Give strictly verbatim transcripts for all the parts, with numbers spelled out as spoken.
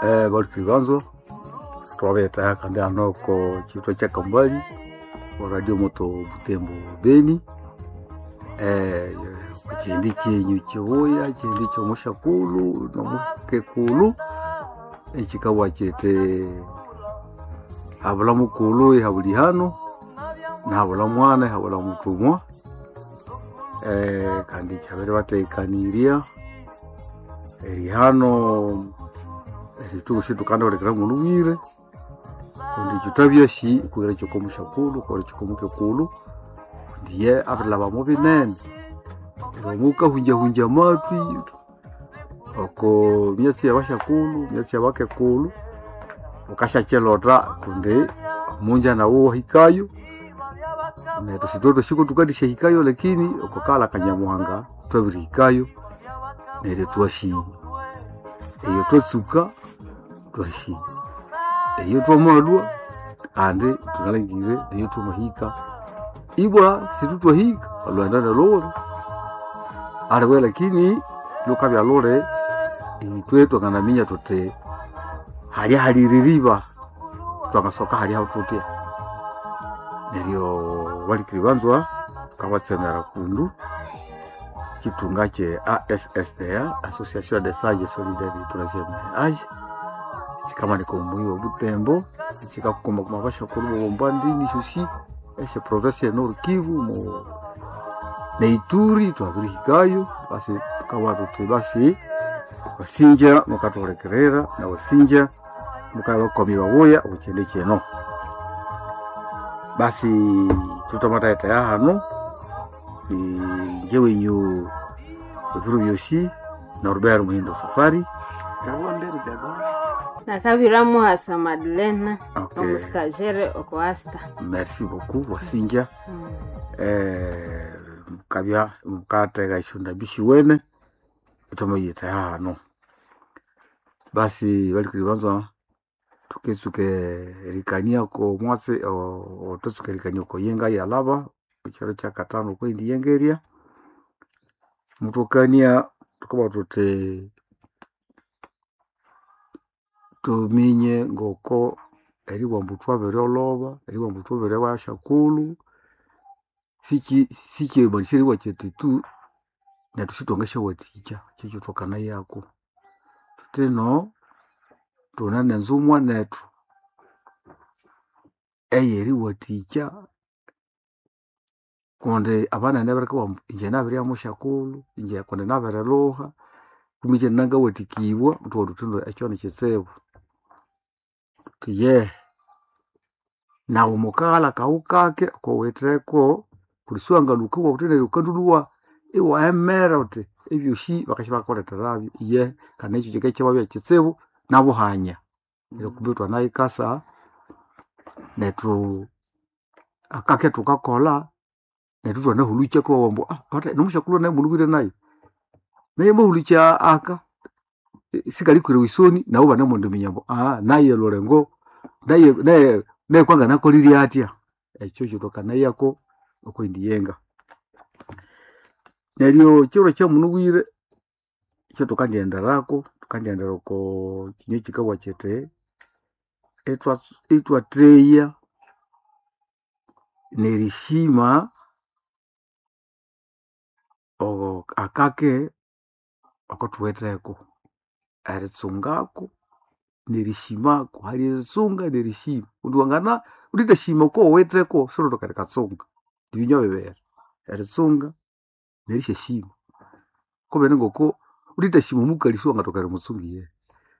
Eh, balupili banzo twabetaha kandi hano ko chitwa cha Kambali o radio moto Butembo Beni eh kuchindi chenyu chibuya chindi chomushakulu nomukekulu ekikawa chete habula mukulu ihabuli hano nahabula mwana ihabula mutumwa eh, kandi chabere batekanirya erihano erituku shitukandolekera muluwire kundi chutabyashi kugira chikomushakulu kora chikomukekulu ndiye abirilabamo binene romukahunjahunja amatwi oko myatsi yabashakulu myatsi yabakekulu ukashakyelota kundi omunja nawo wahikayo netu sitwe shiko tukadishahikayo lakini okokala kanyamuhanga twabirihikayo neryo twashi eyo twatsuka twashi eyo twamalwa kandi tunalangire eyo twamahika ibwa situtwahika olwenda nalule aliwe lakini lukabya lule itwe twanganaminya tuti halya haliririba twangasoka halya tutya neryo balikiri banzwa kabatsemera kundu chitunga che A S S D A, Association des Sages Solidaires du Troisième Âge, chikamanika omuyi wa Butembo chikakukomba kuma bashakulu bobombandini shoshi eshe province ya Nord Kivu mu neituri twabirihikayo basi tukawa tuti basi wasinja mukathuhulikirira na wasinja mukabakomi babuya obukyende kino basi tutamataetaya hano ni nje wenyu ebiro byosi Norbert Muhindo Safari. Nakabira muhasa Madlena Okay. omusitagere okoasta. Merci beaucoup wasinja eh, mukabya mukatega eshunda bishiwene itomoyita hano basi balikuli banzwa tuketsuke erikania ko mwatsi ototsuka erikania ko yenga yalaba ekiro kya katano kwendi yengeria mutokania tukuba tuti tuminye ngoko eribwambu twabiriolhoba eribwambu twabiribashakulhu siki sikimanisha eribwa kyethu tu nethu sithwangasyawathikya kyekyo thwakanayako thuthino thune nenzumwa nethu eyeriwathikya kundi abanene bakabugha ambu inje nabiribya musyakulhu inje kundi nabirilhuha kumbe inje nangawathikibwa ithwabugha thuthi indi ekyo nikitsibu. Thuthi yehe naghu mukaghalha akaghu kake akawitheko kundi siwangalhuka iwabugha wuthi neryo wukandulhuwa iwahemera wuthi ebyosi bakasya bakakuletherabyo iyehe kandi ekyo kikabya ikyababya kitsibu nabuhanya. Neryo kumbe ithwanayikasa nethu akake thukakolha nethu ithwanahulukya iwabugha ambu aa nomusyakulhu naye mulhubire nayo naye amahulukya aka sikalikwira esoni nabo ibanemwendiminya ambu aa naye lhulengo naye naye naye kwanganakolirye athya ekyo kyithwakanayako okwindi yenga. Neryo ekiro kyamunubwire ekyathukandiyenderaku thukandiyendera oko kinywa ekikabugha kyithi ithwa ithwatheya nerishima akake akathuwitheko eritsungako nerishimako hali eritsunga nerishima kundi wangana wuthithashima okowuwitheko siwulithoka erikatsunga nibinywa bibiri eritsunga nerisyashima kubeni ngoko wuthithashima omukali siwangathoka erimutsunga iyehe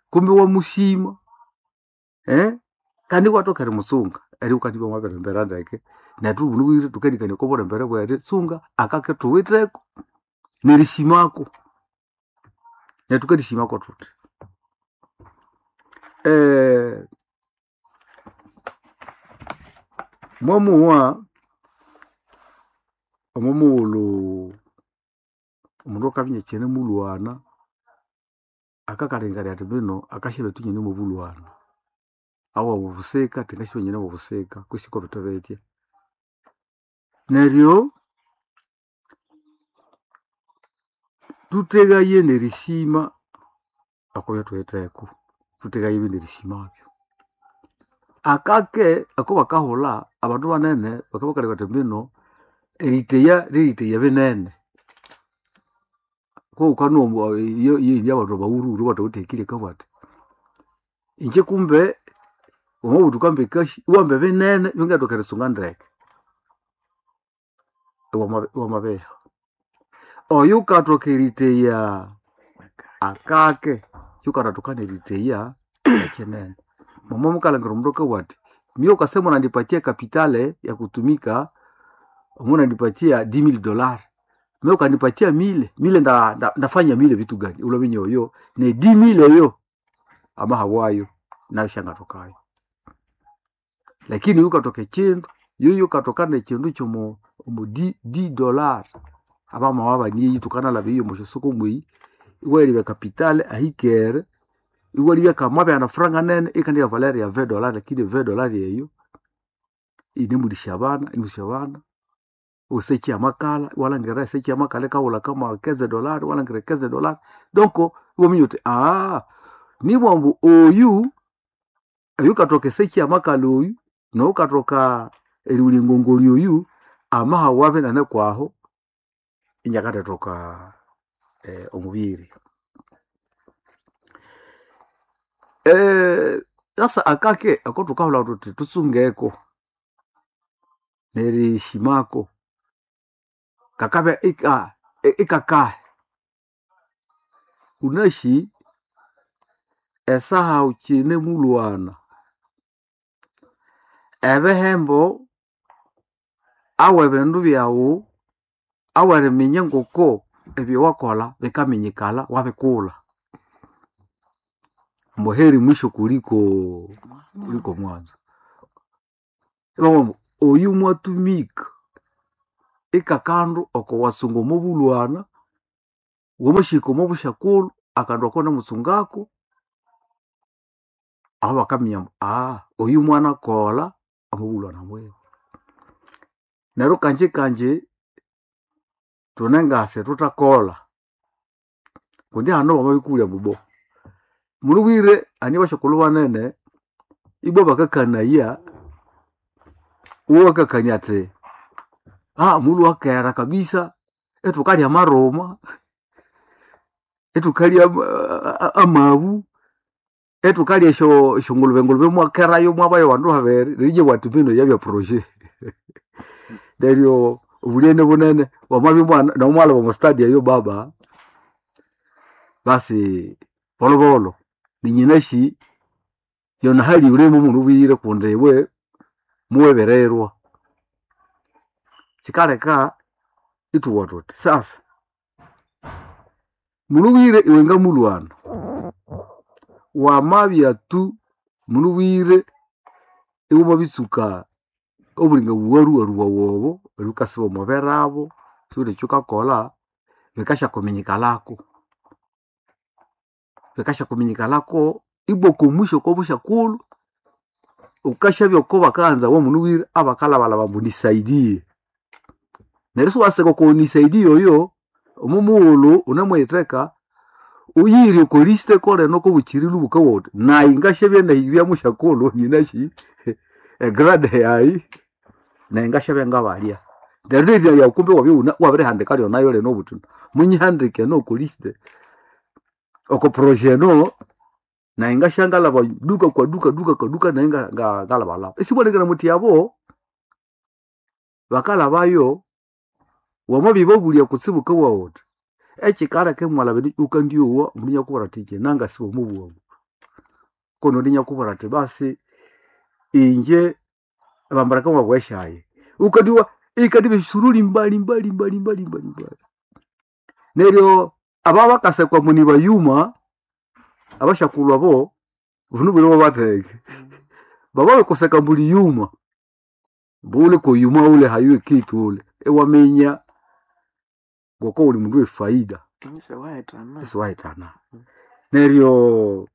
kumbe iwamushima kandi iwathoka erimutsunga eryo wukandibya wamabirimbera ndeke nethu bunubwire thukanikania oko bulembere bweritsunga akake thuwitheko nerishimako neryo thukalishimako thuthi. Mwamuwa omo mughulhu omundu akabya inyakyinamulhwana akakalengekania athi mbino akasyabethu inyine mwobulhwana awabu obusika athi ngasyabya inyine mwobusika kwisi kobithe bitya. Neryo thuthegaye nerishima okwa byathuwitheko. Thutegaye ebindi erishimabyo. Akake ako bakahulha abandu banene bakabya bakalebya bathi mbino eriteya ryeriteya binene. Kowukanowa iyo abandu abawuruwuru abathawithe akili akabugha athi ingye kumbe wamabugha wuthi wukamba ekasyi iwamba ebinene ebyangathoka eritsunga ndeke iwamabiha. Oyukathoka eriteya akake yukanathoka neriteya ekyinene. Mwamabya mukalhangira omundu akabugha athi mie wukase munandipatia kapitale ya kutumika munandipatia dix mille dollars mie wukandipatia mille, mille ndafanya mille vitu gani? Iwulaminya oyo ne dix mille eyo amahabwayo nayo syangathokayo. Lakini yukathoka ekyindu yoyo yukathoka nekyindu kyomo omo dix dollars abamawabani eyi thukanalaba eyo omwasyasoko mweyi iwayalebya kapitale ahikere iwalebya kamwabya nefranga nene ikandibya valeur ya vingt dollars lakini vingt dollars eyo yinemulisya abana inemulisya abana eseki yamakala iwalhangira eseki yamakala yikawulha kama quinze dollars iwalhangira quinze dollars donc iwaminya wuthi nibwa ambu oyu oyukathoka eseki yamakala oyu noyukathoka erighulya engongoli oyu amahawabe inanekwahu inakathathoka omubiri. Sasa akake akothukahulha thuthi thutsungeko nerishimako kakabya ika ikakahi. Wunasi esaha wukyinemulhwana ebihembo awe bindu byawu aweriminya ngoko ebyowakolha bikaminyikala wabikulha. Ambu heri mwisho kuliko kuliko mwanzo. Ibabugha ambu oyu mwatumika ikakandu oko wasunga omobulhwana wamasihika omobusyakulhu akandu ako iwanemutsungako aho bakaminya ambu oyu mwanakolha omobulhwana bwiwe. Neryo kanji kanji thune ngasi thuthakolha kundi hano bamabikubulya ambu bo mulhubwire hane basyakulhu banene ibwa bakakanaya iwakakania athi mulhwe kera kabisa ithukalya amaruma ithukalya amabu ithukalya esyo esyongulube ngulube imwakerayo imwabayo abandu babiri neryo inje ibugha athi mbino yabya projet. Neryo obulyene bunene wamabya mwana namwalhaba omwa stadi eyo baba basi bolhobolho ninyinasi yonahali yulimo mulhubwire kundi iwe muwebererwa. Kyikaleka ithubugha thuthi sasa mulhubwire iwe ngamulhwana wamabya tu mulhubwire iwamabitsuka obulinga buwaruwaru bwawu obo eribya wukasiba omwa birabo siwuwithe ekyawukakolha bikasyakuminyikalhako. Bikasyakuminyikalhako ibwa okwa mwisho okwabusyakulhu wukasyabya oko bakaghanzawa mulhubwire abakalhabalhaba ambu nisaidie. Neryo isiwaseka oko nisaidie oyo omo mughulhu wunemuyitheka wuyire oko list koleno kobukyiri lhuba wukabugha wuthi nayi ngasyabya nahibya musyakulhu nyinasi egrade yayi nayi ngasyabya ngabalya. Neryo nerina lyawu kumbe iwabya iwabirihandika lyonayo lino wuthi munyihandike eno oko list oko projet eno nayi ngasyangalhaba duka kwa duka duka kwa duka nayi ngalhabalhaba. Isibwalengera muthi abo bakalhabayo wamabibabulya kutsibu wukabugha wuthi ekyikaleka imwalhaba indi wukandyowa omundu inakubwira athi ingye nangasiba omobwabu. Konondi inakubwira athi basi ingye bambaleka mwabwesyayi. Wukandyowa ikandibya esyusuruli mbali mbali mbali mbali mbali mbali. Neryo ababakasekwa ambu nibayuma abasyakulhu abo bunubwire babatheke. Bababirikuseka ambu liyuma ambu wule koyuma wule hayuwe kitu wule iwaminya ngoko wuli mundu wefaida isiwahithana. Neryo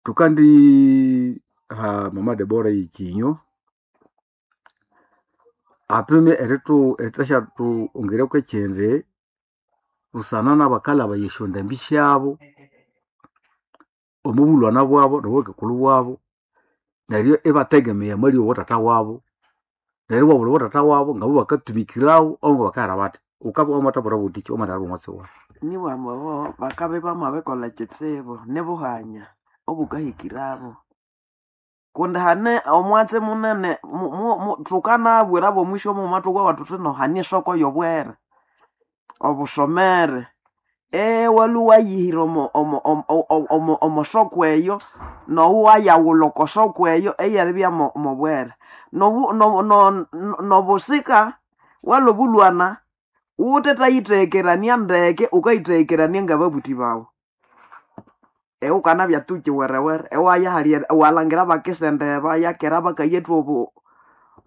thukandi ha mama Debora eyikinyo apime erithu erithasyathwongerya kwekyindi busana nabakalhabaya esyondambi syabo. Omubulwana bwabo nobwekekulhu bwabo neryo ibategemeya amali owa tata wabo neryo iwabulha owa tata wabo ngabo bakatumikirawo obo ngabakahera bathi wukabya wamathabwira buthiki wamathalha omwatsi wawu. Nibwamba obo bakabya bamabirikolha ekitsibu nibuhanya obukahikirabo kundi hane omwatsi munene mu- mu- mu- thukanabwira bomwisyo mughuma thukabugha thuthi no hane esoko y'obwere obusomere ewalhwa wayihira omo omo omo omo omosoko eyo nowu wayaghulha oko soko eyo eyeribya mo mobwere nobu no- no- nobusika walhwa obulhwana wuthethayitheghekerania ndeke wukayitheghekerania ngababuthi bawu iwukanabya tu kiwerewere iwaya hali iwalhangira bakisendeba yakera bakayethu obu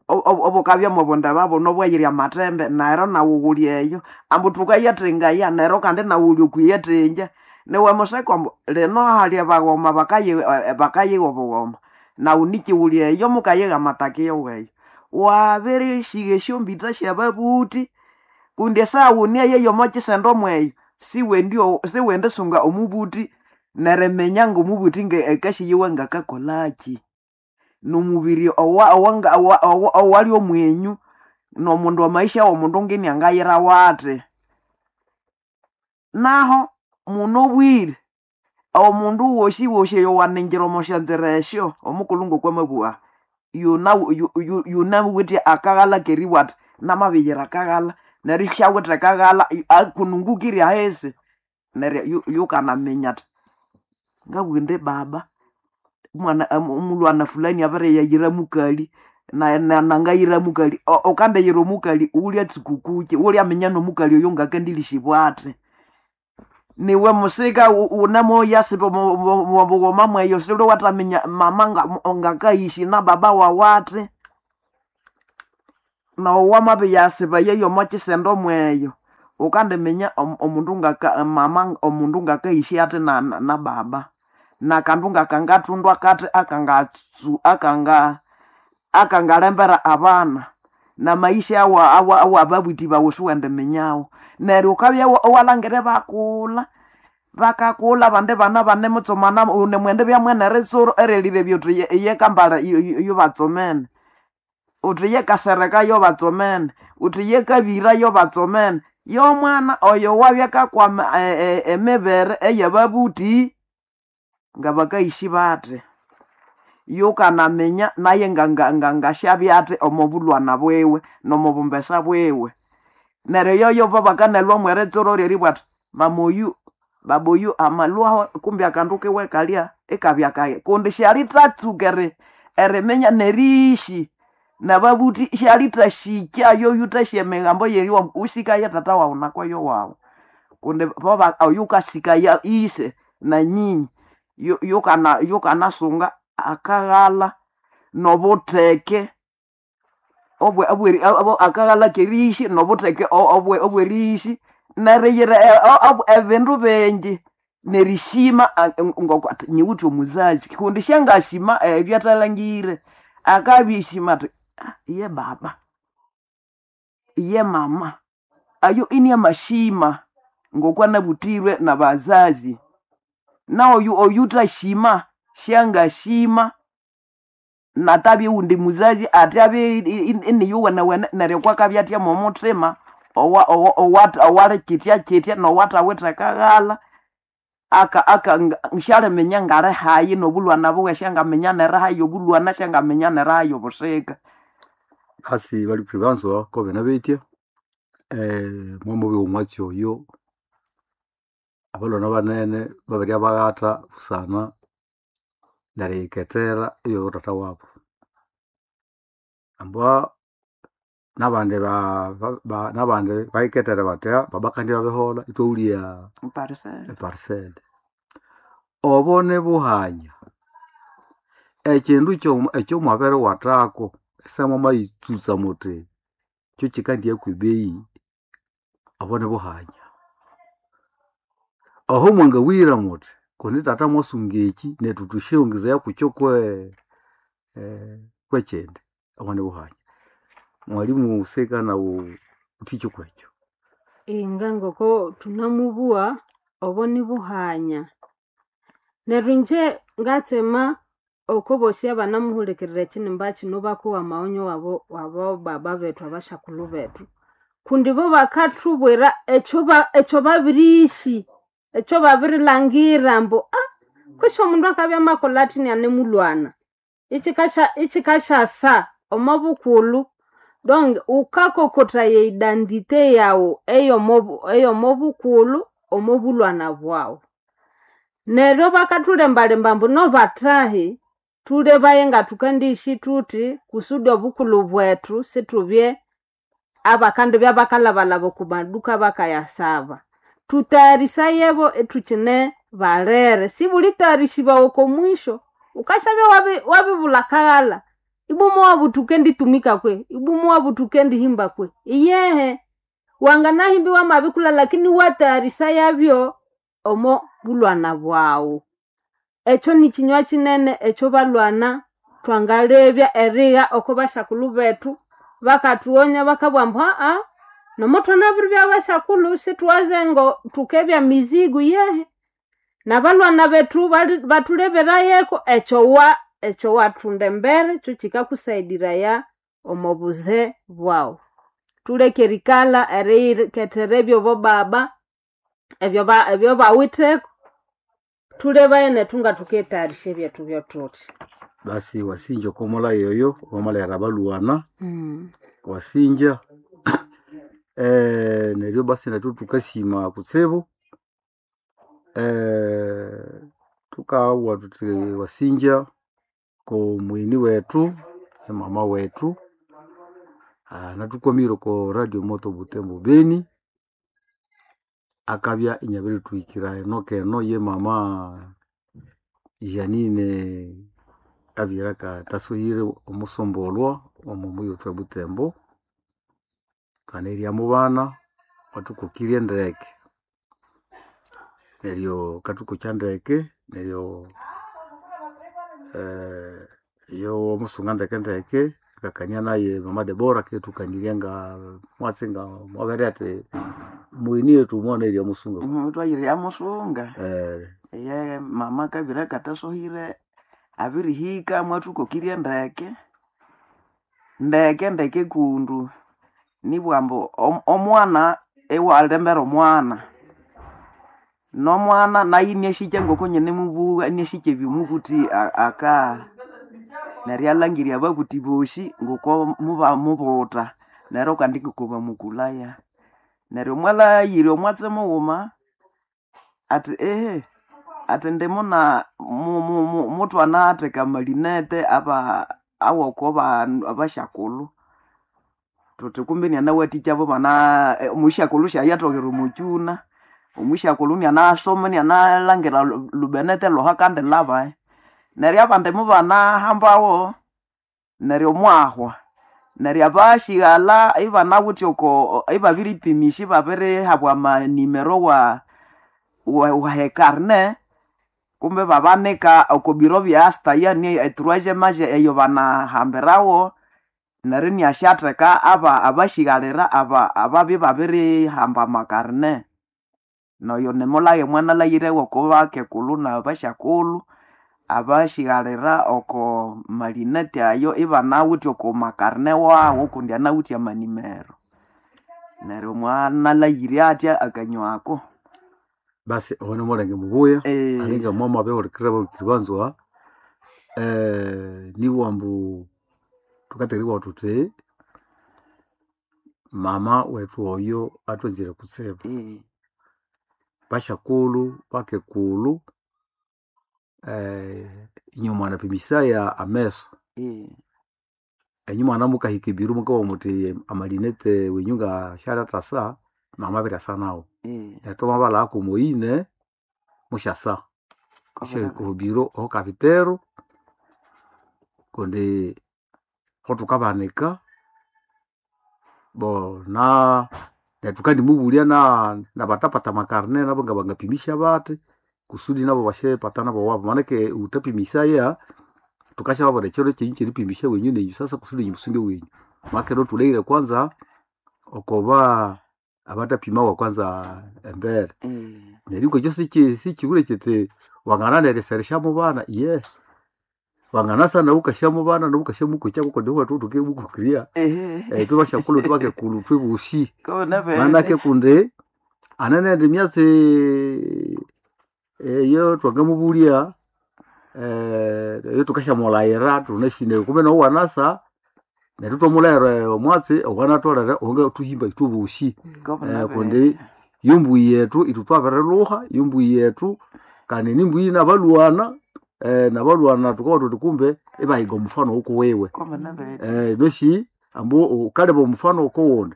obukabya mwobundeba buno obwayirya amathembe neryo nawu wuli eyo ambu thukayatengaya neryo kandi nawu wuli okwiyatengya niwe museka ambu lino hali abaghoma bakayi bakayigha obughoma nawu niki wuli eyo mukayigha amataka iweyo wabirishiga esyombitha syababuthi kundi esawuni eyo ey'omokisendo mweyo siwendi siwendisunga omubuthi neriminya ng'omubuthi akasiyiwe ngakakolhaki nomubiri owa- owanga- owa- owa- owali omwenyu nomundu amaisha w'omundu nginiangayirawo athi naho munobwire omundu wosi wosi eyowaningira omo syanzira esyo omukulhu ng'okwamabugha yuna yu- yunawithe akaghalha keribugha athi namabiyira akaghalha neryo isyawithe akaghalha akunungukirye ahisi neryo yu- yukanaminya athi ngabugha indi baba omwana omulhwana fulani abiriyayira mukali na- na- nangayira mukali O- ukandiyira omukali wulyatsuka kuki wulyaminya n'omukali oyo ngakandilishibwa athi niwe musika wunemoyasiba omubughoma mweyo silwe wathaminya mama nga- ngakayishi na baba wawu athi nowo wamabiyasiba yeyo omokisendo mweyo wukandiminya omu- omundu ngaka mama omundu ngakayishi athi na, na, na baba nakandu ngakangathundwa kathi akangatsu akanga akangalembera abana namaisha awa awa awababuthi bawu siwendiminyagho neryo wukabya iwalhangira ibakulha bakakulha abandi bana banemutsomana wune mwendibya mweneritsuro erilibya uthi ye- yekambala yobatsomene uthi yekasereka yobatsomene uthi yekabira yobatsomene yomwana oyo wabya kakwama e- e- emibere eyababuthi ngabakayishi bathi yukanaminya naye nga- nga- nga- ngasyabya athi omo bulhwana bwiwe nomubumbesa bwiwe neryo yoyo babakanalhwa mweritsuro ryeribugha athi mama oyu baba oyu amalhwaho kumbi akandu kiwe kalya ikabya kayi kundi syalithatsuka eri eriminya neriishi nababuthi syalithashikya yoyu thasya emigambo yeriwa usikaye tata wawu nakoyo wawu kundi boba oyu kasikaya ise na nyinyi yu- yukana yukanasunga akaghalha nobutheke obwe obweri obo- akaghalha keriishi nobutheke o- obwe obweriishi neriyira e- o- o- ebindu bingi nerishima a- ngoko ati nyiwithe omuzazi kundi syangashima ebyo athalangire akabishima athi "Ah, iye baba iye mama ayo ini amashima ngokwanabuthirwe nabazazi naoyu oyuthashima syangashima natabya owundi muzazi athi abye iniyuwenewene neryo kwakabya athya mwomuthima owa- owa- owa- owali kyitya kyitya nowathawithe akaghalha aka aka nga- syaliminya ngali hayi nobulhwana buwe syangaminya nerihayi obulhwana syangaminya nerihayi obusika Basi baliphi banzwa kobene betya eh mwamubya omwatsi oyo abalhwana banene babirya baghatha busana neriyikethera eyo tata wabu ambwa nabandi ba- ba- ba- nabandi bayikethere bathi "Ah, baba kandi babiholha ithwawulya Parisele. eparisele obo nibuhanya ekindu kyo- ekyomwabiriwathako esamwamayitsutsa muthi kyo kyikandiya kwebeyi obo nibuhanya oho mwangabwira muthi kundi tata mwasunga eki nethu thusyongezaya kukyo kwe eh, kwekyindi obo nibuhanya mwalimu seka nawu uthikyo kwekyo Inga ngoko thunamubugha obo nibuhanya Neryo ingye ngatsema oko bosi abanamuhulikirira ekinimba kino bakowa amaonyo wabo wabo baba bethu abashakulhu bethu kundi bo bakathubwira ekyo ba- ekyo babirishi ekyo babirilangira ambu ah kwisi omundu akabya amakolha athi nianemulwana ikikasha ikikashasa omo bukulhu donc ukakokotaya eidentité yawu eyomo eyomo bukulhu omo bulwana bwawu neryo bakathulembalemba ambu nobathahi thulebaye ngathukandishi thuthi kusudi obukulhu bwethu sithubye abakandibya bakalhabalhaba oku maduka bakayasaba thutayarisayebo ithukine balere sibulitayarishibawa oko mwisho ukashabya wabi- wabibulha akaghalha ibumu wabu thukenditumika kwe ibumu wabu thukendihimba kwe iyehe wanganahimbi wamabikulha lakini watayarisayabyo omo bulwana bwawu ekyo nikinywa kinene ekyo balwana twangalebya erigha oko bashakulhu bethu bakathuwonya bakabugha ambu aa nomo thwanabiribya bashakulhu sithuwaze ngo thukebya mizigo yehe nabalwana bethu bali- bathuleberayeko ekyo wa ekyo wathunda embere kyo kikakusaidiraya omo buze bwawu thuleke erikalha eriyikethera ebyobo baba ebyo ba- ebyo bawitheko thulebaye nethu ngathuketayarisha ebyethu byothuthi Basi wasinja okomola yoyo wamalera abalwana mm. wasinja eh, neryo basi nethu tukasima kutsibu eh, tukabugha thuthi wasinja ko mwini wethu emama wethu ah, natukwamire oko radio moto Butembo Beni akabya inyabirithuhikira eno keno ye mama Janine abyira katasuhire omusombolwa omo muyothu e Butembo twanerya mubana wathukokirye ndeke neryo kathukokya ndeke neryo eh, yo omusunga ndeke ndeke akakania naye mama Debora akethukanirya nga mwatsi nga mwabere athi mwini yethu mwanerya musunga Mhm, twayirya musunga eh, ye mama kabira katasohire abirihika mwathukokirye ndeke ndeke ndeke kundu nibugha ambu om- omwana iwalembera omwana nomwana naye iniashikya ngoko nyine mubugha iniashikya ebyomubuthi a- aka neryo alangirya ababuthi bosi ngoko mubamubuta neryo kandi ngoko bamukulaya neryo mwalayira omwatsi mughuma athi ehe athi ndimuna mu- mu- mu- muthwanatheka amalinete aba awoko bandu abashakulhu thuthi kumbi nianawathikya bana omushakulhu syayathoghera omukyuna omushakulhu nianasoma nianalangira lu- lubenete lwoha kandi lwabahi neryo abandi mubanahambawo neryo mwahwa neryo abashighalha ibanawithe oko ibabiripimisya ibabirihabwa amanimero wa wa wa ekarne kumbe babanika oko biro bya asta yani etroisième age eyo banahambirawo neryo iniasyatheka aba abashighalira aba ababya babirihamba amakarne noyo nimulaghe mwanalhaghire oko bakekulhu nabasyakulhu abashighalira oko malineti ayo ibanawithe oko makarne wawu kundi anawithe amanimero neryo mwanalhaghire atya akanywa ako basi owo nimulenge mubuya Eh, alinga mwama abihulikirira bahulikiri banzwa eh, nibugha ambu thukatekeribugha thuthi mama wethu oyo athwanzire kutsibu eh, bashakulhu bakekulhu eh, inyuma anapimisaya ameso eh, enyuma anamukahika ebiru mukabugha muthi amalinete wenyu nga syalyathasa mama abiryasa nawu eh, neryo thwamabalhagha moyine musyasa kobera- syahika obiro oho kafitero kundi ho thukabanika bo na neryo thukandimubulya na nabathapata amakarne nabo nga bangapimisya bathi kusudi nabo basyepata nabo wabo manake wuthapimisaya thukasyababwira ekyiro kyenyu kyeripimisya wenyu nenyu sasa kusudi inyu musunge wenyu makiro thulhaghire kwanza okoba Abatapima kwanza embere. Eh. Neryo ekyo siki sikibure kiti wangana neriseresha mu bana ye wanganasa nawe ukasya mu bana nawe ukasya mukokya kuko wethu tukebukukiria Ehe. eh tubashakulhu tubakekulu twebushi Kona manake vete. kundi anene ndi myatsi eyo twangamubulya eh eyo tukashamulayira tunashine kumbe nawe wanasa neryo twamulayira omwatsi owanatolere onga tuhimba ithwebushi Kona eh kundi vete. yombuyi yetu itu twabirilhuha yombuyi yetu kandi nimbuyi nabalwana eh nabalwana tukawa tuti kumbe ibahiga omufano wokuwiwe Kona vete. eh noshi ambu ukaleba omufano okuwundi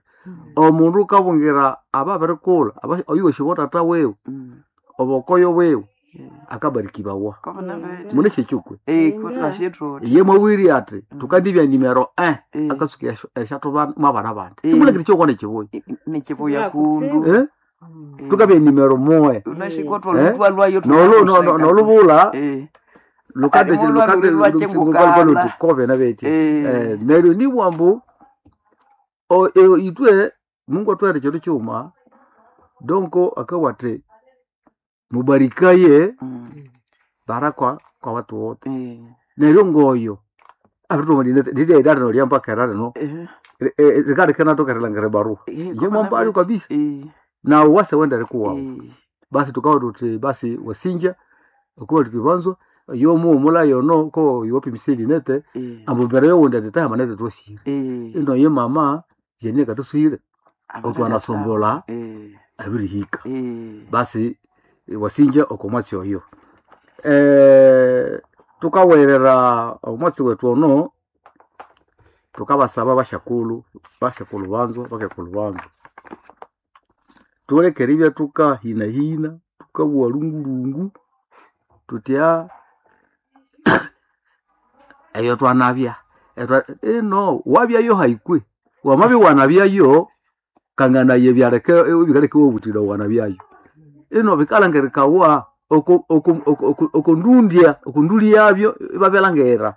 omundu ukabungira ababirikulha aba- oyuwasi tata wiwe Mm. obokoyo wiwe Yeah. akabarikibawa Kona vete. mune kyekikwe Eh, kona shitro. iye mwawiri ati tukandibya nimero eh Eh. akasuka eshatu mwabana bandi Eh. simulekire kyokwana ekibuya Nichibuya Ya, kundu. eh Eh. tukabya nimero moe Unashikotwa Eh? lutwa lwayo nolu no- no- nolubula Eh. lukande Alimo lwa lukande luri lwachengukana. lutikove nabeti Eh. eh neryo nibwambu o e- itwe Mungu atwere kindu kyuma donko akawate mubarikaye Mm. baraka kwa watu wote Eh. neryo ngoyo ndideidarino lyambakera rino Eh. rikarikena tokerelangere barua Eh, ye kona mwambalio vete. kabisa Eh. na wase wenda rikuwawo Eh. basi tukawa tuti basi wasinja okuba tukibanzwa yomuumula yono ko yopimiseli nete Eh. ambu mbere yowundi ati tayamanete twosire Eh. ino ye mama jenie katusire Abana otwanasombola Eh. abirihika Eh. basi wasinja okomwatsi oyo eh tukawerera omwatsi wetu ono tukabasaba bashakulu bashakulu banzo bakekulu banzo tulekere ibya tukahinahina tukabuwa lungulungu tutya eyo twanabya Etwa- ino wabyayo haikwe wamabya wanabyayo kanganaye byaleke bikaleke wobutira wanabyayo ino bikalangirikawa oko- oko- oko- oko- okondundya okonduli yabyo ibabyalangera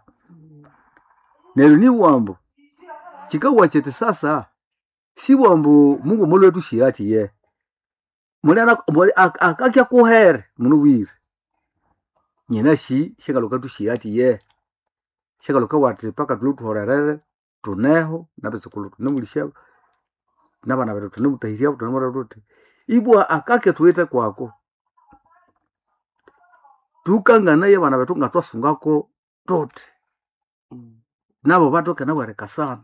neryo nibwambu kikawa kiti sasa sibwambu mungu mulwetu shiati ye muli akakya kuhere muno bwire nyina shi shikaluka tushiati ye shikaluka wati paka tulutuhorerere tuneho nabisikulu tunemulisha nabana betu tunemutahirya tunemura tuti ibwa akake tuite kwako tukanganaye bana betu nga twasungako tuti Mm. nabo batoke nabwereka sana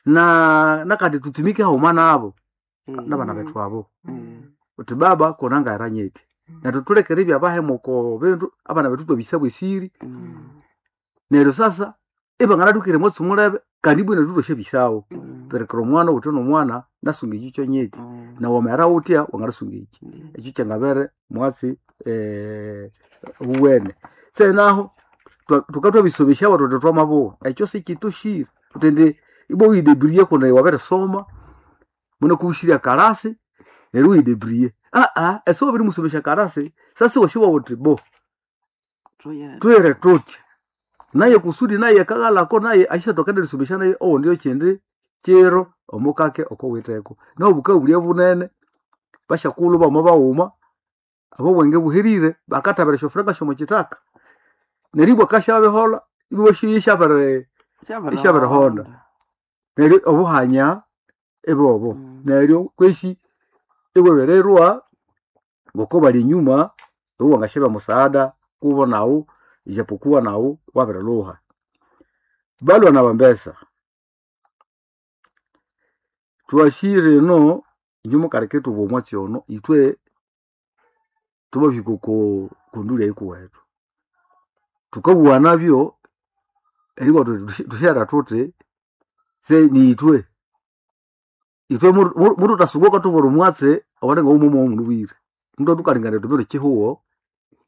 na nakati tutumike hauma nabo Eh. nabana betu abo Eh. uti baba konanga eranyete natutulekere ibyabahemuko bindu abana betu twabisa bwesiri Mm. neryo sasa ibanganatukire mwatsi mulebe kandi bwine tutoshe bisawo Mm. perekera omwana uti nomwana nasunga ekyo kyonyeti Mm. na wamera utya wanganasunga eki Mm. ekyo kyangabere mwatsi eh, uwene senaho tukatwabisobesha abatoto twamabuwa ekyo sikitushire tutende ibo uyidebriye kuna waberesoma muna kubushirya karasi neryo uyidebriye aa ese wabirimusomesha karasi sasa washiwa uti bo Tuyere. twere tutya naye kusudi naye kagalako naye ashatokana naye owo ndio chindi chiro omukake okowiteko nobuka bulia bunene bashakulu bamo bauma abo bwenge buhirire bakatabira shofuranga shomo chitaka neribwa kashabehola ibo shishabere Ishabirihonda. neryo obuhanya ebobo Mm. neryo kweshi iwebererwa ngoko bali inyuma iwo wangasheba musaada kubo nawu ijapokuwa nawu wabirilhuha balwa na bambesa twashire ino inyu mukaleke tuba omwatsi ono itwe tubahika oko kunduli eyikuwetu tukabuwa nabyo eribwa tuti tushera tuti se niitwe itwe mutu tasunguka tubura omwatsi owalenga umumo omundu bwire mundu atukalingana tumiro chihuwo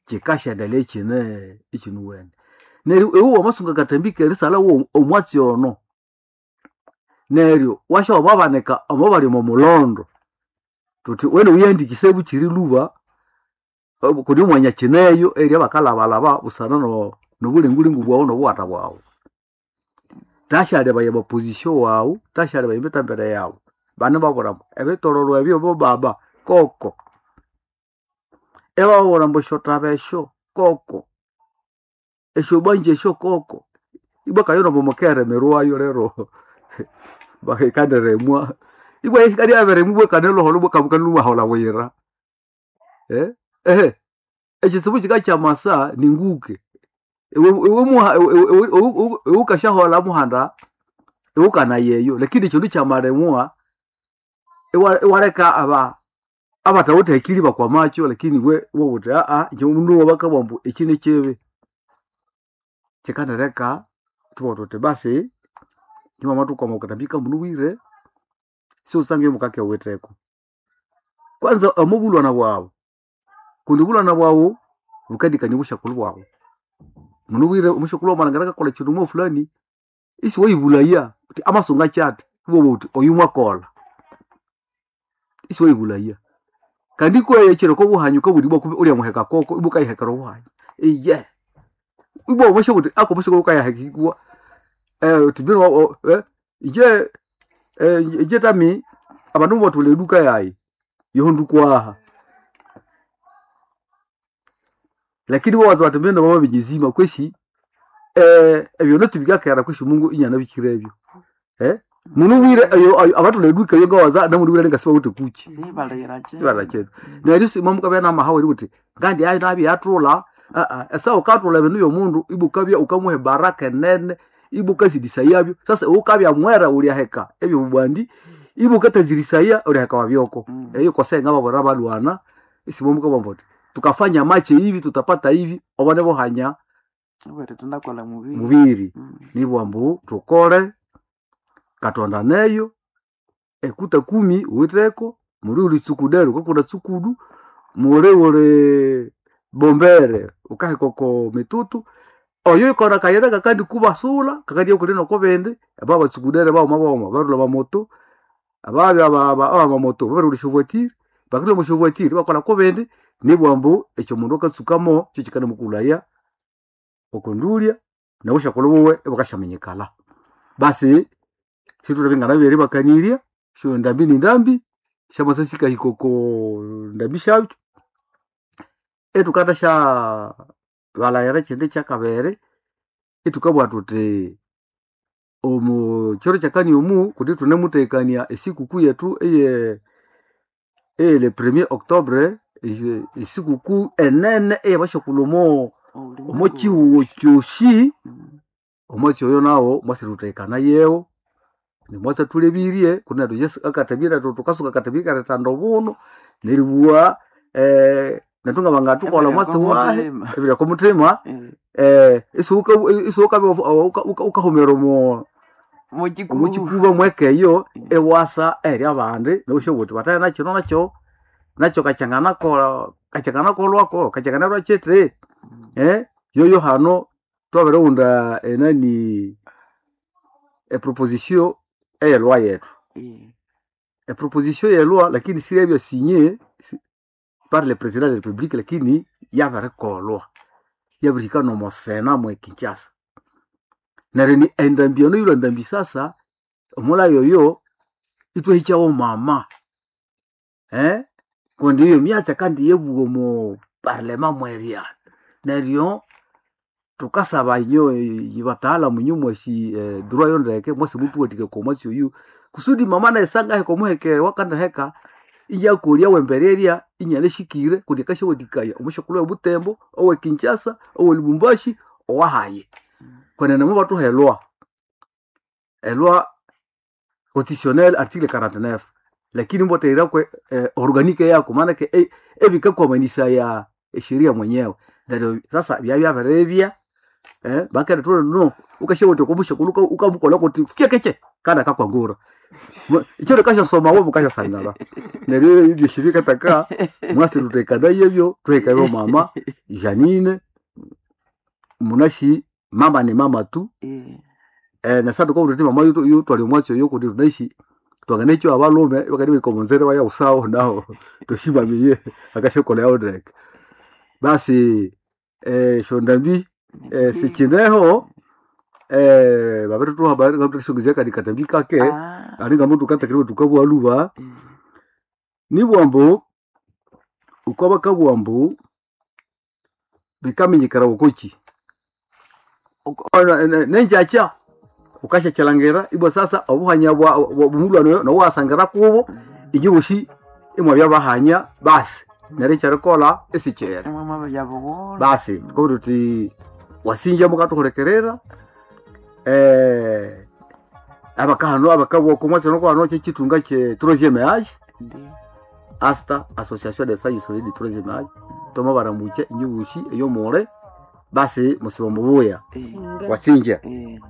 chikashendelea ichine ichinuwene neryo iwe wamasunga katambike erisala wo omwatsi ono neryo washa wababanika omo bali omo mulondo tuti wene uyandikise buchiri luba kuli omwanya kineyo eri abakalabalaba busana no nobulingulingu bwawu nobuwata bwawu tashaleba ya position wawu tashaleba emitambere yawu Bane babwira mbu ebitororo ebyo bo baba koko. Ebababwira mbu esyothaba esyo koko. Esyobanja esyo koko. Ibwa kayo nombo mukeremerwayo lero bakekanderemwa. Ibwa ikali aberemwa ibwa kanelo ibwa kabukanlu bwira. Eh? Ehe. Ekitsibu kika kyamasa ninguke. Ewe ewe muha ewe ukashahola muhanda ewe yeyo lakini ekindu kyamaremwa ewa ewaleka aba abatawithe akili bakwamakyo lakini we wobuthi aa inje mundu wabakabugha ambu eki nikibi. Kyikandireka thubugha thuthi basi nimwamathukwama okathambi kamunubwire siwusange mukakewitheko. Kwanza omubulwana bwaghu kundi obulwana bwaghu bukandikania obusyakulhu bwaghu. Munubwire omusyakulhu wamalhangira akakolha ekindu mwa fulani isiwayibulaya wuthi amasunga kyathi iwabugha wuthi oyu mwakolha. Isiwayibulaya. Kandi kweyo ekiro okobuhanyi wukabugha ibwa kumbe ulyamuheka koko ibwa wukayihekera obuhanyi. Iye ibwa wamasyabuwa wuthi ako omusyakulhu wukayahekikwa wuthi mbinu inje inje tami abandu mubathulha eduka yayi yohondukwaha. Lakini ibawaza bathi mbinu bamabinyizima kwesi ebyonoti bikakera kwesi Mungu inyanabikirebyo. Munubwire eyo abathulha eduka eyo ngawaza namunubwire alinga sibawithe kuki. Sibalira kyeru. Sibalira kyeru. Neryo isi mwamukabya namahawu eribugha wuthi ngandi nabyathulha esaha wukathulha ebindu byomundu ibwa wukabya wukamuha ebaraka enene ibwa wukasidisayabyo. Sasa iwe wukabya mwera wulyaheka ebyobubandi ibwa wukathazirisaya wulyaheka wabyoko. Eyo kose ngababwira balhwana isimwamukabugha muthi tukafanya mache hivi tutapata hivi obone buhanya Obwerithundakolha mubiri. mubiri. Nibugha ambu thukole Katonda neyo ekuta kumi wuwitheko muli wuli tsukudere wukakunda tsukudu muli wuli bombere wukaheka oko mitutu oyo yukolha akayira kakandikubasula kakandibya kuli nokobindi aba batsukudere baghuma baghuma barilhwa amamoto ababya abamamoto babirilhwa esyovoitiri bakilhwa omwa syovoitiri ibakolha kobindi nibugha ambu ekyomundu akatsukamo kyokyikandimukulhaya okondulya nobusyakulhu buwe ibukasyaminyikalha. Basi sithulabya nganabya eribakanirya syondambi nindambi syamasa sikahika oko ndambi syakyo ithukathasya balhaghira ekyindi kyakabiri ithukabugha thuthi omu kyiro kyakani omu kundi ithunemuthekania esikuku yethu eye eye le premier octobre esikuku enene eyabasyakulhu omo omo kyihugho kyosi omwatsi oyo nawo mwasithuthekana yewo nimwatsi athulebirye kundi nethu Yesu akathebya nethu thukasuka akathebya ikaletanda obuno neribugha nethu ngabangathukolha omwatsi wahi ebiri okomuthima isiwukabya wukahumira omo omukikuba mwekeyo iwasa eyiri abandi niwasyabuwa wuthi bathe nakino nakyo nakyo kakyanganakolha kakyanganakolhwako kakyanganakolhwa kyithi yoyo hano thwabirighunda enani eproposition eyelwa yethu. Eproposition yelwa lakini siyabya sinye par le president de la republique lakini yabirikolhwa yabirihika nomo sena mwe Kinshasa. Neryo endambi eno yilhwa ndambi sasa omulhayo oyo ithwahikyawo mama kundi eyo myatsi kandi yabugha omo parliament mwerya. Neryo thukasaba inyo bataalamu inyo mwasi droit yo ndeke mwase muthuwathikaya okwa mwatsi oyu kusudi mama naye sangaheka omuheke owakandiheka inyakolya owembererya inyanashikire kundi akasyawathikaya omusyakulhu owe Butembo, owe Kinshasa, owe Lubumbashi, owahayi. Kwenene mobathuha elwa, elwa constitutionnel article quarante-neuf lakini imubathahiraku organique yaku maanake ebikakwamanisaya esheria mwenyewe. Neryo sasa byabya bakendithubwira no wukasyabuwa wuthi okwamusyakulhu wukamukolha kuthi fyekekye kandi akakwangura. Ekyiro wukasyasoma iwe mukasyasangalha. Neryo ebyosi bikataka mwasithuthekanayebyo thuhike mama Janine munasi mama ni mama tu nesathu thukabugha thuthi mama yuthwalya omwatsi oyo kundi thunasi thwanganakyowa abalhume ibakandibahika omonzira ibayaghusaho naho thwasyibamiye akasyakolhayaho ndeke. Basi esyondambi sikyineho Eh babirituha babiritushongezya kadi katambi kake Ah, alinga mundu katakiriwe tukabugha luba mm. nibugha ambu ukwa bakabugha ambu bikaminyikara wukoki Uko- nenjakya ukashakyalhangira ibwa sasa obuhanya bwa bumulwano nowasangira kubo inyi bosi imwabya bahanya basi neryo ekyerikolha isikyera Imwe mwabya bugholo. Basi tukabwira tuthi wasinja mukathuhulikirira eh, abakahano abakabugha okomwasi nokwano kyekyithunga kye troisième age Ndiyo. asta association des sages solides du troisième age twamabaramukya inyi bosi eyomule basi musiba mubuya Eh, wasinja eh.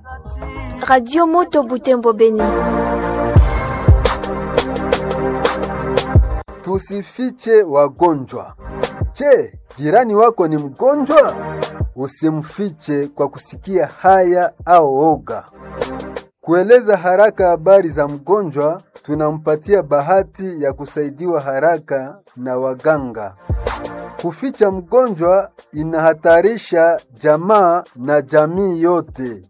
Radio Moto Butembo Beni. Tusifiche wagonjwa. Je, jirani wako ni mgonjwa? Usimfiche kwa kusikia haya au oga. Kueleza haraka habari za mgonjwa, tunampatia bahati ya kusaidiwa haraka na waganga. Kuficha mgonjwa inahatarisha jamaa na jamii yote.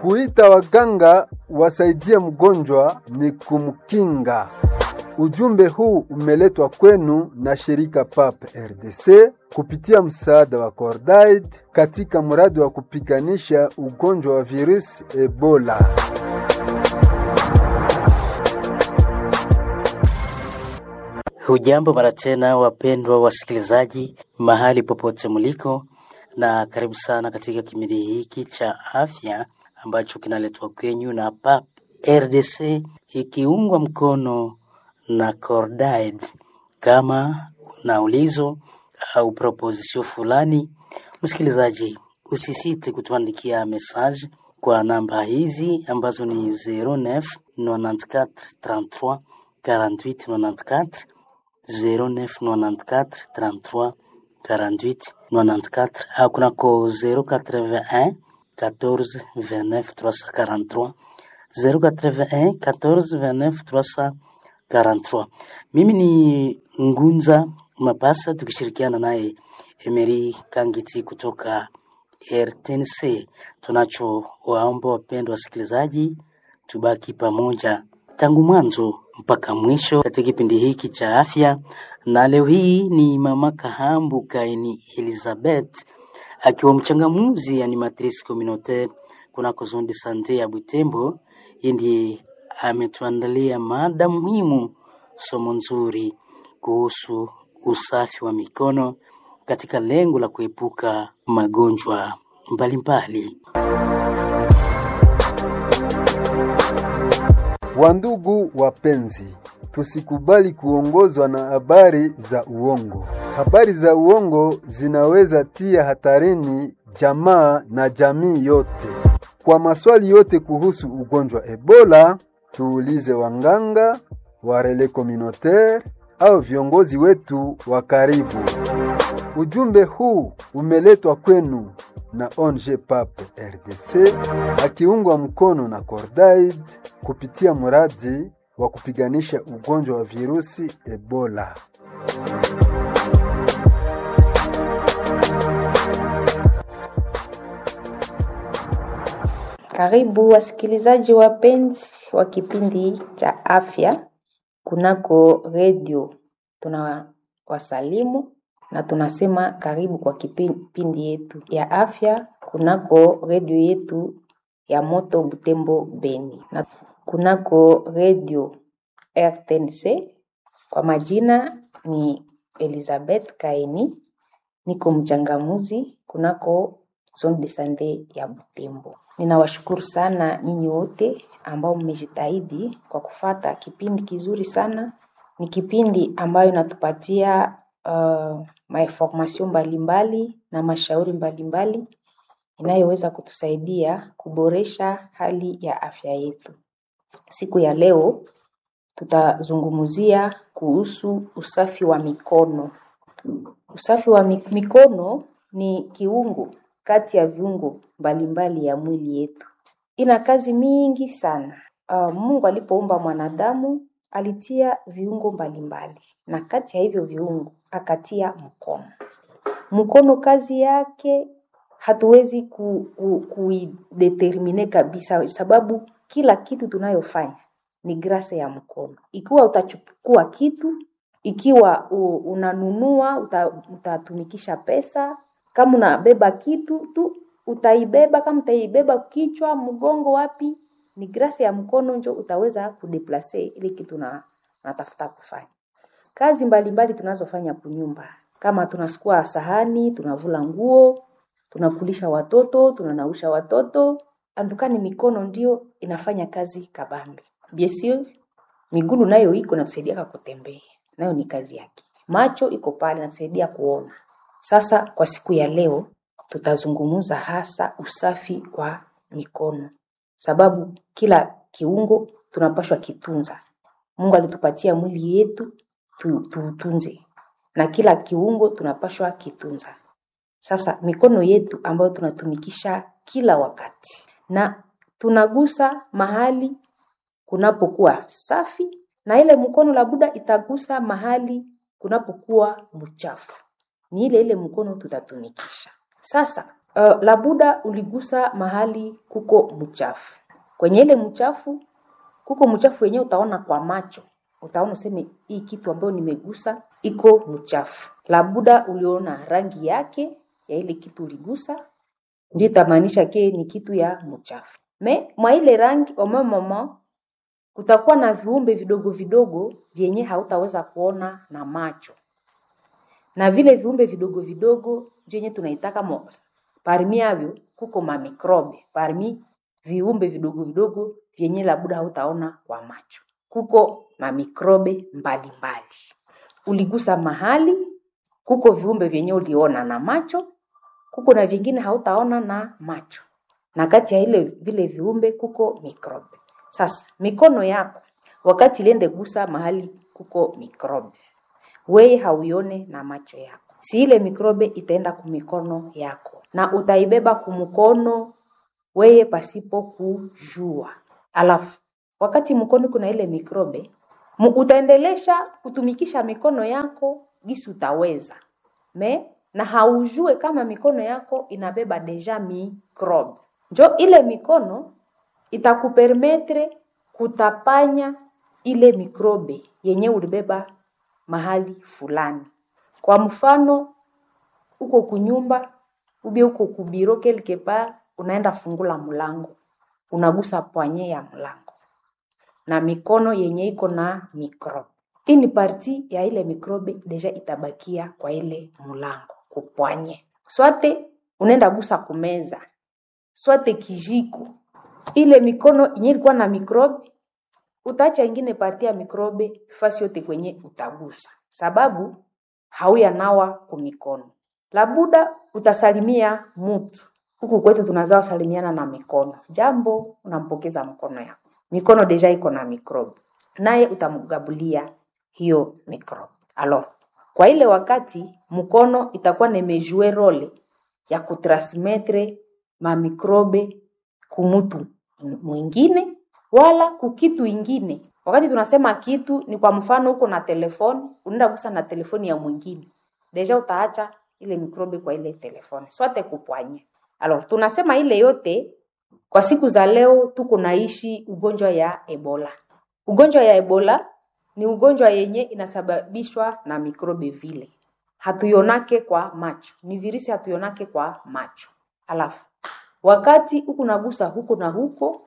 Kuita waganga wasaidie mgonjwa ni kumkinga. Ujumbe huu umeletwa kwenu na shirika P A P R D C kupitia msaada wa Cordaid katika mradi wa kupiganisha ugonjwa wa virusi Ebola. Hujambo mara tena wapendwa wasikilizaji, mahali popote mliko, na karibu sana katika kipindi hiki cha afya ambacho kinaletwa kwenyu na P A P R D C ikiungwa mkono na Cordaid. Kama una ulizo au proposition fulani, msikilizaji, usisite kutuandikia message kwa namba hizi ambazo ni zero neuf nonante-quatre trente-trois quarante-huit nonante-quatre, zero neuf nonante-quatre trente-trois quarante-huit nonante-quatre au kunako zero quatre-vingt-un quatorze vingt-neuf trois cent quarante-trois, zero quatre-vingt-un quatorze vingt-neuf trois cent quarante-trois. Mimi ni Ngunza Mapasa tukishirikiana naye Emery Kangiti kutoka R T N C. Tunacho waomba wapendwa wasikilizaji, tubaki pamoja tangu mwanzo mpaka mwisho katika kipindi hiki cha afya, na leo hii ni Mama Kahambu Kaini Elizabeth akiwa mchangamuzi animatrice communautaire kunako zone de sante ya Butembo. Yeye ndiye ametuandalia mada muhimu, somo nzuri kuhusu usafi wa mikono katika lengo la kuepuka magonjwa mbalimbali. Wandugu wapenzi, tusikubali kuongozwa na habari za uongo. Habari za uongo zinaweza tia hatarini jamaa na jamii yote. Kwa maswali yote kuhusu ugonjwa Ebola, tuulize wanganga, wa relais communautaire au viongozi wetu wa karibu. Ujumbe huu umeletwa kwenu na O N G P A P R D C akiungwa mkono na Cordaid kupitia mradi wa kupiganisha ugonjwa wa virusi Ebola. Karibu wasikilizaji wapenzi wa kipindi cha afya kunako redio. Tunawasalimu na tunasema karibu kwa kipindi yetu ya afya kunako redio yetu ya Moto Butembo Beni na kunako redio R T N C. Kwa majina ni Elizabeth Kaini, niko mchangamuzi kunako Zone de Sante ya Butembo. Ninawashukuru sana nyinyi wote ambao mmejitahidi kwa kufata kipindi kizuri sana. Ni kipindi ambayo inatupatia uh, mainformation mbalimbali na mashauri mbalimbali inayoweza kutusaidia kuboresha hali ya afya yetu. Siku ya leo tutazungumzia kuhusu usafi wa mikono. Usafi wa mikono ni kiungo kati ya viungo mbalimbali ya mwili yetu. Ina kazi mingi sana. Uh, Mungu alipoumba mwanadamu alitia viungo mbalimbali, na kati ya hivyo viungo akatia mkono. Mkono kazi yake Hatuwezi ku, ku, kuidetermine kabisa, sababu kila kitu tunayofanya ni grase ya mkono. Ikiwa utachukua kitu, ikiwa u, unanunua uta, utatumikisha pesa. Kama unabeba kitu tu utaibeba, kama utaibeba kichwa, mgongo, wapi, ni grase ya mkono njo utaweza kudeplace ile kitu na natafuta kufanya. Kazi mbalimbali tunazofanya kunyumba, kama tunasukua sahani, tunavula nguo, tunakulisha watoto, tunanausha watoto, andukani mikono ndio inafanya kazi kabambi. Bien sûr, migulu nayo iko inatusaidia kutembea, nayo ni kazi yake. Macho iko pale inatusaidia kuona. Sasa kwa siku ya leo tutazungumza hasa usafi wa mikono, sababu kila kiungo tunapashwa kitunza. Mungu alitupatia mwili yetu tu- tuutunze, na kila kiungo tunapashwa kitunza. Sasa mikono yetu ambayo tunatumikisha kila wakati na tunagusa mahali kunapokuwa safi, na ile mkono labuda itagusa mahali kunapokuwa mchafu, ni ile ile mkono tutatumikisha. Sasa uh, labuda uligusa mahali kuko mchafu, kwenye ile mchafu kuko mchafu wenyewe utaona kwa macho, utaona useme hii kitu ambayo nimegusa iko mchafu. Labuda uliona rangi yake ya ile kitu uligusa, ndio itamaanisha ke ni kitu ya mchafu. Me mwa ile rangi au même moment kutakuwa na viumbe vidogo vidogo vyenye hautaweza kuona na macho, na vile viumbe vidogo vidogo ndio yenye tunaitaka mo parmi yavyo kuko mamikrobe, parmi viumbe vidogo vidogo vyenye labuda hautaona kwa macho, kuko mamikrobe mbalimbali. Uligusa mahali, kuko viumbe vyenye uliona na macho, kuko na vingine hautaona na macho, na kati ya ile vile viumbe kuko mikrobe. Sasa mikono yako wakati iliende gusa mahali kuko mikrobe, weye hauione na macho yako, si ile mikrobe itaenda kumikono yako na utaibeba kumukono weye pasipo kujua. Alafu wakati mkono kuna ile mikrobe mu, utaendelesha kutumikisha mikono yako gisi utaweza me na haujue kama mikono yako inabeba deja mikrobe. Njo ile mikono itakupermetre kutapanya ile mikrobe yenye ulibeba mahali fulani. Kwa mfano, uko kunyumba ubie uko kubiro quelque part, unaenda fungula mlango, unagusa pwanye ya mlango na mikono yenye iko na mikrobe. Hii ni parti ya ile mikrobe deja itabakia kwa ile mlango kupwanye. Swate unaenda gusa kumeza, swate kijiko, ile mikono yenye ilikuwa na mikrobe utaacha ingine parti ya mikrobe fasi yote kwenye utagusa, sababu hauya nawa kumikono. Labuda utasalimia mutu huku kwetu tunazao salimiana na mikono, jambo unampokeza mkono yako, mikono deja iko na mikrobe, naye utamgabulia hiyo mikrobe. Alors, kwa ile wakati mkono itakuwa nemejue role ya kutransmettre mamikrobe kumutu mwingine wala kukitu ingine. Wakati tunasema kitu ni kwa mfano, uko na telefoni, unaenda gusa na telefoni ya mwingine, deja utaacha ile mikrobe kwa ile telefoni, swate kupwanya. Alors tunasema ile yote kwa siku za leo tuko naishi ugonjwa ya Ebola. Ugonjwa ya Ebola ni ugonjwa yenye inasababishwa na mikrobe vile, hatuionake kwa macho, ni virusi hatuionake kwa macho. Alafu wakati huku nagusa huko na huko,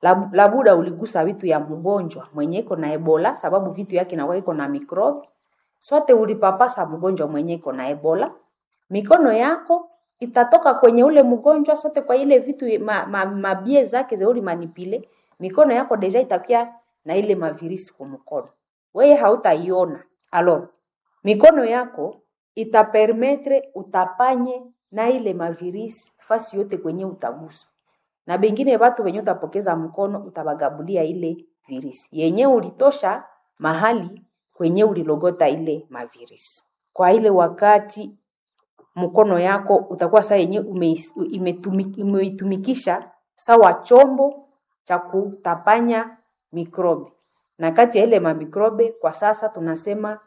lab- labuda uligusa vitu ya mgonjwa mwenye iko na Ebola, sababu vitu yake inakuwa iko na mikrobe. Sote ulipapasa mgonjwa mwenye iko na Ebola, mikono yako itatoka kwenye ule mgonjwa sote kwa ile vitu ma, ma, mabie zake ze ulimanipile, mikono yako deja itakuwa na ile mavirisi kwa mkono, weye hautaiona. Alors mikono yako itapermetre utapanye na ile mavirisi fasi yote kwenye utagusa na bengine batu wenye utapokeza mkono utabagabulia ile virisi yenye ulitosha mahali kwenye ulilogota ile mavirisi. Kwa ile wakati mkono yako utakuwa saa yenye umeis- imetumi- umeitumikisha sawa chombo cha kutapanya mikrobe, na kati ya ile mamikrobe kwa sasa tunasema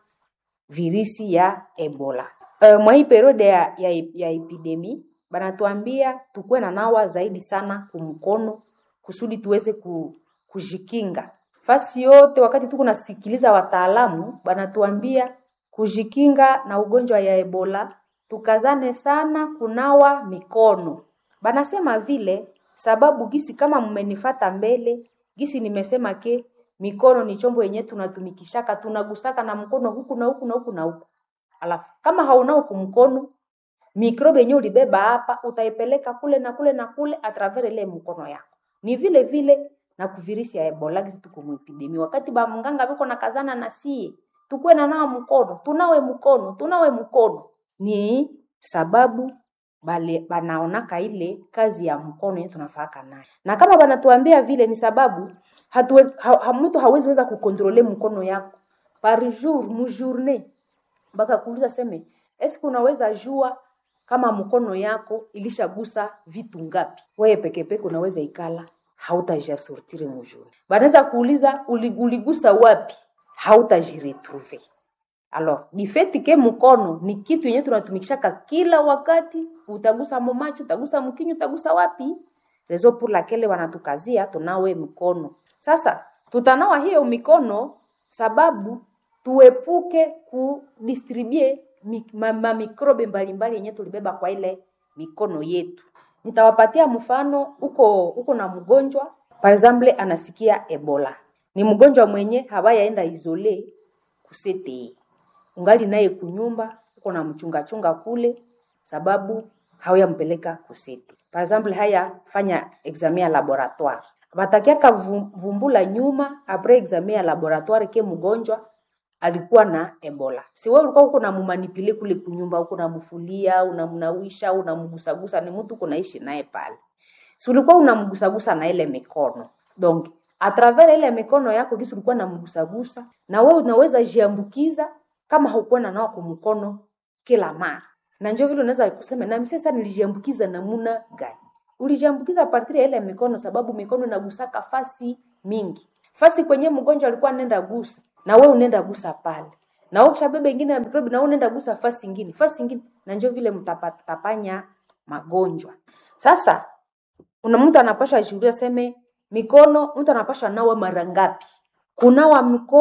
virisi ya Ebola. Uh, mwa hii periode ya, ya, ya epidemi Banatuambia tukuwe na nawa zaidi sana kumkono kusudi tuweze ku, kujikinga fasi yote. Wakati tuko nasikiliza wataalamu banatuambia kujikinga na ugonjwa ya Ebola, tukazane sana kunawa mikono. Banasema vile sababu gisi kama mmenifata mbele gisi nimesema ke mikono ni chombo yenye tunatumikishaka, tunagusaka na mkono huku na huku na huku na huku. Alafu kama haunao kumkono mikrobe yenye ulibeba hapa utaipeleka kule na kule na kule atravers ile mkono yako. Ni vile vile na kuvirisi ya Ebola gisi tuko muepidemi. Wakati ba mganga biko na kazana na sie tukuwe na nawa mkono, tunawe mkono, tunawe mkono, ni sababu bale banaonaka ile kazi ya mkono yenye tunafaka nayo, na kama banatuambia vile ni sababu hatuwezi, ha, ha, mtu hawezi weza kukontrole mkono yako par jour mu journée mpaka kuuliza seme eske unaweza jua kama mkono yako ilishagusa vitu ngapi? Wewe peke peke unaweza ikala hautajiasortire mujuri. Banaweza kuuliza uli- uligusa wapi, hautajiretrouver. Alors ni fait ke mkono ni kitu yenye tunatumikishaka kila wakati, utagusa mumacho, utagusa mkinyo, utagusa wapi? Raison pour laquelle wanatukazia tunawe mkono. Sasa tutanawa hiyo mikono sababu tuepuke kudistribue mi- ma, ma mikrobe mbalimbali yenye tulibeba kwa ile mikono yetu. Nitawapatia mfano, uko uko na mgonjwa par exemple anasikia Ebola, ni mgonjwa mwenye hawayaenda isole kusete, ungali naye kunyumba, uko na mchungachunga kule sababu hauyampeleka kusete. Par exemple haya fanya examen ya laboratoire, batakiaka vum- vumbula nyuma apres examen ya laboratoire ke mgonjwa alikuwa na Ebola. Si wewe ulikuwa uko namumanipile kule kunyumba, uko namfulia, unamnawisha, unamgusagusa, ni mtu uko naishi naye pale. Si ulikuwa unamgusagusa na ile mikono. Donc a travers ile mikono yako gisi ulikuwa unamgusagusa, na wewe unaweza jiambukiza kama haukuwa na nawa kumkono kila mara. Na ndio vile unaweza kusema na mimi sasa nilijiambukiza namuna gani? Ulijiambukiza a partir ya ile mikono, sababu mikono inagusaka fasi mingi fasi kwenye mgonjwa alikuwa anaenda gusa na wewe unaenda gusa pale, na wewe ukishabeba ingine ya mikrobi na wewe unaenda gusa fasi ingine fasi ingine, na ndio vile mtapatapanya magonjwa. Sasa kuna mtu anapaswa ashuhudia seme mikono, mtu anapaswa nawa mara ngapi? Kunawa mkono